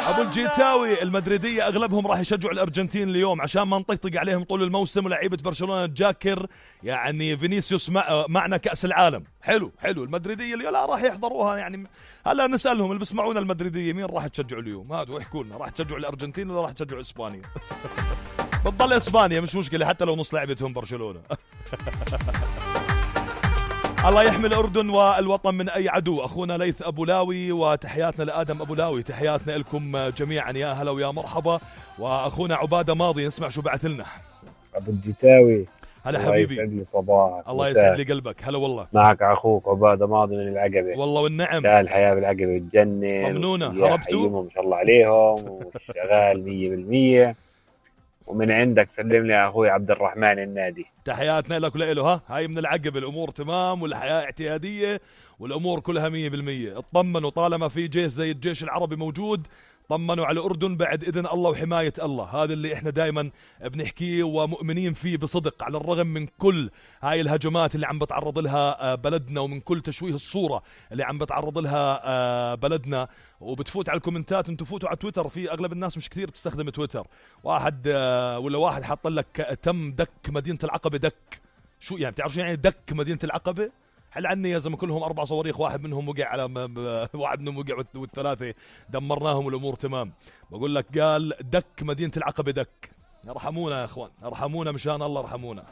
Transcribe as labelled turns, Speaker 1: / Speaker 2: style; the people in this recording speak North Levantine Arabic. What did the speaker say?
Speaker 1: ابو الجيتاوي المدريدية اغلبهم راح يشجعوا الارجنتين اليوم عشان ما نطقطق عليهم طول الموسم، ولاعيبة برشلونة جاكر يعني فينيسيوس معنا كأس العالم. حلو المدريدية اليوم لا راح يحضروها يعني. هلا نسألهم اللي بسمعونا المدريدية مين راح تشجعوا اليوم، هاتوا احكوا لنا راح تشجعوا الارجنتين ولا راح تشجعوا اسبانيا؟ بتضل اسبانيا مش مشكلة حتى لو نص لعبتهم برشلونة. الله يحمي الأردن والوطن من أي عدو. أخونا ليث أبو لاوي وتحياتنا لآدم أبو لاوي، تحياتنا لكم جميعا يا هلا ويا مرحبا. وأخونا عبادة ماضي نسمع شو بعث لنا.
Speaker 2: أبو الجيتاوي
Speaker 1: هلا حبيبي،
Speaker 2: يسعد لي صباحك.
Speaker 1: الله يسعد لي قلبك. هلا والله
Speaker 2: معك أخوك عبادة ماضي من العقبة.
Speaker 1: والله والنعم،
Speaker 2: لا الحياة بالعقبة بالجنة.
Speaker 1: طمنونا هربتوا
Speaker 2: ما شاء الله عليهم وشغال 100%. ومن عندك سلم لي أخوي عبد الرحمن النادي،
Speaker 1: تحياتنا لك وله. ها هاي من العقب الأمور تمام والحياة اعتيادية والأمور كلها 100%. اطمنوا طالما في جيش زي الجيش العربي موجود، طمنوا على الأردن بعد إذن الله وحماية الله. هذا اللي إحنا دائما بنحكيه ومؤمنين فيه بصدق، على الرغم من كل هاي الهجمات اللي عم بتعرض لها بلدنا ومن كل تشويه الصورة اللي عم بتعرض لها بلدنا. وبتفوت على الكومنتات، انتوا فوتوا على تويتر، في أغلب الناس مش كثير بتستخدم تويتر. واحد حط لك تم دك مدينة العقبة. دك شو يعني؟ بتعرف شو يعني دك مدينة العقبة؟ حل عني يا زلمه، كلهم 4 صواريخ، واحد منهم وقع على واحد منهم وقع والثلاثه دمرناهم والامور تمام. بقول لك قال دك مدينه العقبه دك. ارحمونا يا اخوان، ارحمونا مشان الله ارحمونا.